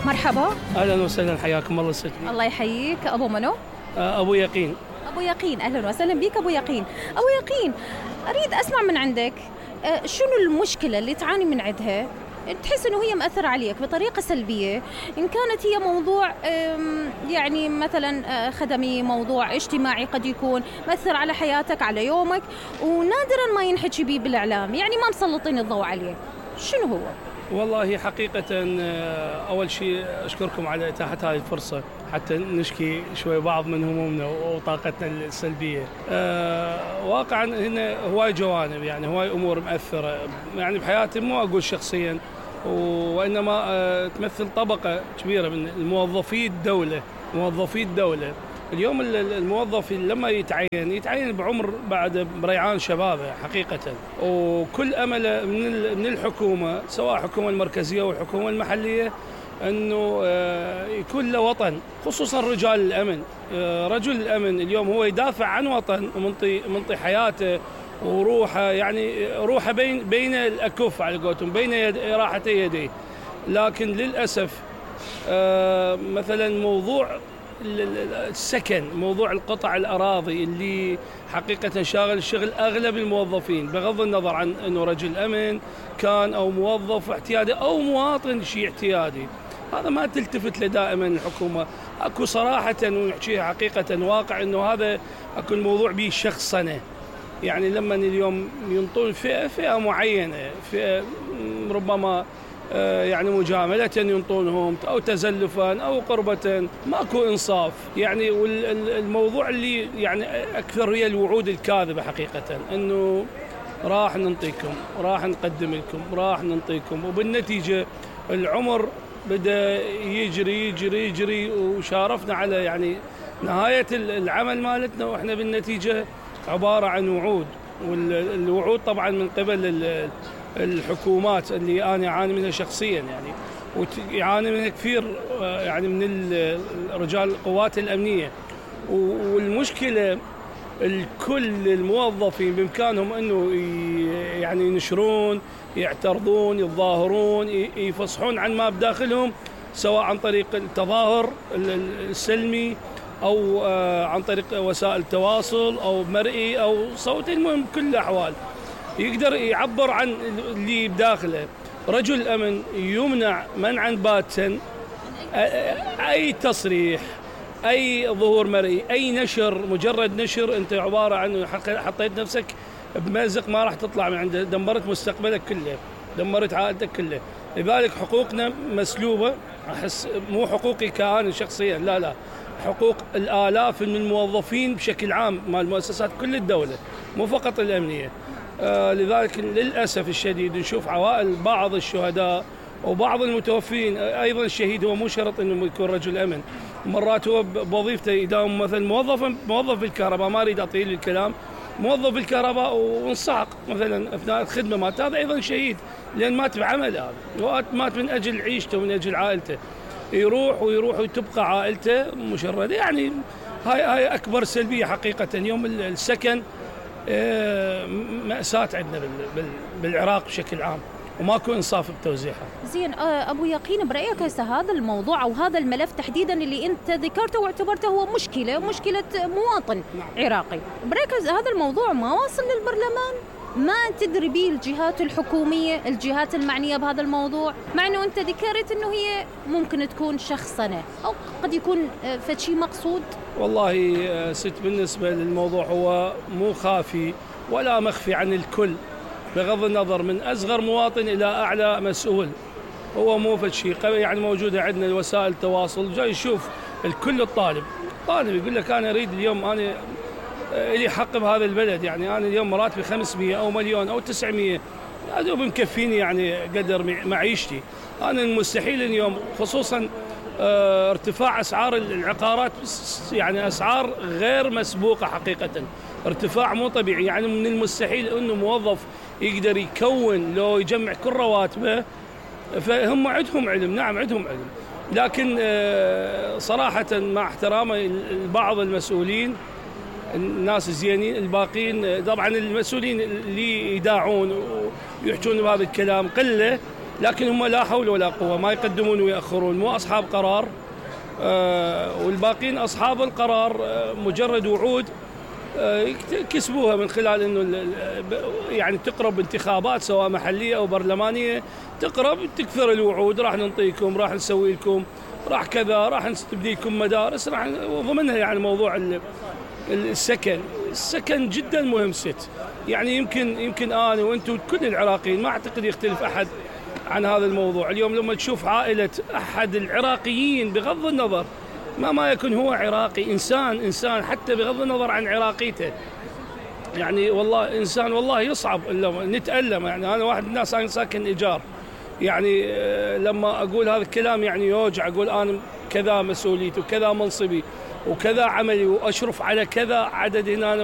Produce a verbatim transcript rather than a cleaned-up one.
مرحبا. اهلا وسهلا، حياكم الله ست. الله يحييك. ابو منو؟ ابو يقين. ابو يقين، اهلا وسهلا بك ابو يقين. ابو يقين، اريد اسمع من عندك شنو المشكله اللي تعاني من عندها، تحس انه هي مأثرة عليك بطريقة سلبية، ان كانت هي موضوع يعني مثلا خدمي، موضوع اجتماعي قد يكون مأثر على حياتك، على يومك، ونادرا ما ينحكي بيه بالاعلام، يعني ما مسلطين الضوء عليه. شنو هو؟ والله حقيقة أول شيء أشكركم على إتاحة هذه الفرصة حتى نشكي شوي بعض من همومنا وطاقتنا السلبية. أه واقعا هنا هواي جوانب، يعني هواي أمور مؤثرة يعني بحياتي، مو أقول شخصيا، وإنما أه تمثل طبقة كبيرة من الموظفي الدولة. موظفي الدولة اليوم الموظف لما يتعين يتعين بعمر بعد بريعان شبابه حقيقة، وكل أمله من من الحكومة، سواء الحكومة المركزية أو الحكومة المحلية، أنه يكون له وطن، خصوصا رجال الأمن. رجل الأمن اليوم هو يدافع عن وطن ومنطي منطي حياته وروحه، يعني روحه بين بين الأكف على قولتهم، بين يد راحتي يديه. لكن للأسف مثلا موضوع السكن، موضوع القطع الأراضي اللي حقيقة شاغل شغل أغلب الموظفين، بغض النظر عن أنه رجل أمن كان أو موظف احتيادي أو مواطن شيء احتيادي، هذا ما تلتفت له دائما الحكومة. أكو صراحة ونحكيها حقيقة واقع أنه هذا أكو الموضوع به شخصنة، يعني لما اليوم ينطون فئة فئة معينة، فئة ربما يعني مجاملة ينطونهم أو تزلفا أو قربة، ماكو إنصاف يعني. والموضوع اللي يعني أكثر هي الوعود الكاذبة حقيقة، أنه راح ننطيكم، راح نقدم لكم، راح ننطيكم، وبالنتيجة العمر بدأ يجري يجري يجري وشارفنا على يعني نهاية العمل مالتنا، وإحنا بالنتيجة عبارة عن وعود. والوعود طبعا من قبل الحكومات اللي أنا أعاني منها شخصيا، يعني ويعاني منها كثير يعني من رجال القوات الأمنية. والمشكلة الكل الموظفين بإمكانهم أنه يعني ينشرون، يعترضون، يتظاهرون، يفصحون عن ما بداخلهم، سواء عن طريق التظاهر السلمي أو عن طريق وسائل التواصل أو مرئي أو صوتي، المهم بكل الأحوال يقدر يعبر عن اللي بداخله. رجل الأمن يمنع منعا باتا أي تصريح، أي ظهور مرئي، أي نشر، مجرد نشر أنت عبارة عن حطيت نفسك بمأزق ما راح تطلع من عنده، دمرت مستقبلك كله، دمرت عائلتك كله. لذلك حقوقنا مسلوبة، أحس مو حقوقي كأنا شخصيا، لا لا، حقوق الآلاف من الموظفين بشكل عام مال مؤسسات كل الدولة، مو فقط الأمنية. آه لذلك للأسف الشديد نشوف عوائل بعض الشهداء وبعض المتوفين. أيضا الشهيد هو مو شرط أنه يكون رجل أمن، مرات هو بوظيفته يداوم مثلا موظف موظف بالكهرباء، ما أريد أطيل الكلام، موظف بالكهرباء وانصعق مثلا أثناء الخدمة مات، هذا أيضا شهيد لأن مات بعمل، هذا مات من أجل عيشته ومن أجل عائلته، يروح ويروح وتبقى عائلته مشردة. يعني هاي هاي أكبر سلبية حقيقة. يوم السكن مأساة عندنا بالعراق بشكل عام، وماكو إنصاف بتوزيعها. زين أبو يقين، برأيك هسه هذا الموضوع أو هذا الملف تحديدا اللي أنت ذكرته واعتبرته هو مشكلة مشكلة مواطن عراقي، برأيك هذا الموضوع ما واصل للبرلمان؟ ما تدري به الجهات الحكومية، الجهات المعنية بهذا الموضوع، مع أنه أنت ذكرت أنه هي ممكن تكون شخصنة أو قد يكون فشي مقصود؟ والله ست، بالنسبة للموضوع هو مو خافي ولا مخفي عن الكل، بغض النظر من أصغر مواطن إلى أعلى مسؤول، هو مو فشي يعني موجودة عندنا وسائل التواصل، جاي يشوف الكل. الطالب طالب يقول لك أنا أريد اليوم، أنا إلي حق بهذا البلد، يعني أنا اليوم مراتبي خمسمية أو مليون أو تسعمية، هذا مكفيني يعني قدر معيشتي. أنا المستحيل اليوم، خصوصا اه ارتفاع أسعار العقارات، يعني أسعار غير مسبوقة حقيقة، ارتفاع مو طبيعي. يعني من المستحيل أنه موظف يقدر يكون لو يجمع كل رواتبه، فهم عندهم علم، نعم عندهم علم، لكن اه صراحة مع احترامي لبعض المسؤولين، الناس الزينين الباقين طبعا المسؤولين اللي يداعون ويحجون بهذا الكلام قلة، لكن هم لا حول ولا قوة، ما يقدمون ويأخرون، مو أصحاب قرار. آه والباقين أصحاب القرار، آه مجرد وعود آه كسبوها من خلال أنه يعني تقرب انتخابات سواء محلية أو برلمانية، تقرب تكثر الوعود، راح نعطيكم، راح نسوي لكم، راح كذا، راح نستبدي لكم مدارس، راح وضمنها يعني موضوع السكن. السكن جدا مهم ست، يعني يمكن يمكن أنا وأنتم كل العراقيين ما أعتقد يختلف أحد عن هذا الموضوع. اليوم لما تشوف عائلة أحد العراقيين بغض النظر ما ما يكون هو عراقي، إنسان إنسان حتى بغض النظر عن عراقيته، يعني والله إنسان والله يصعب نتألم. يعني أنا واحد من الناس أنا ساكن إيجار، يعني لما أقول هذا الكلام يعني يوجع، أقول أنا كذا مسؤوليتي وكذا منصبي وكذا عملي وأشرف على كذا عدد هنا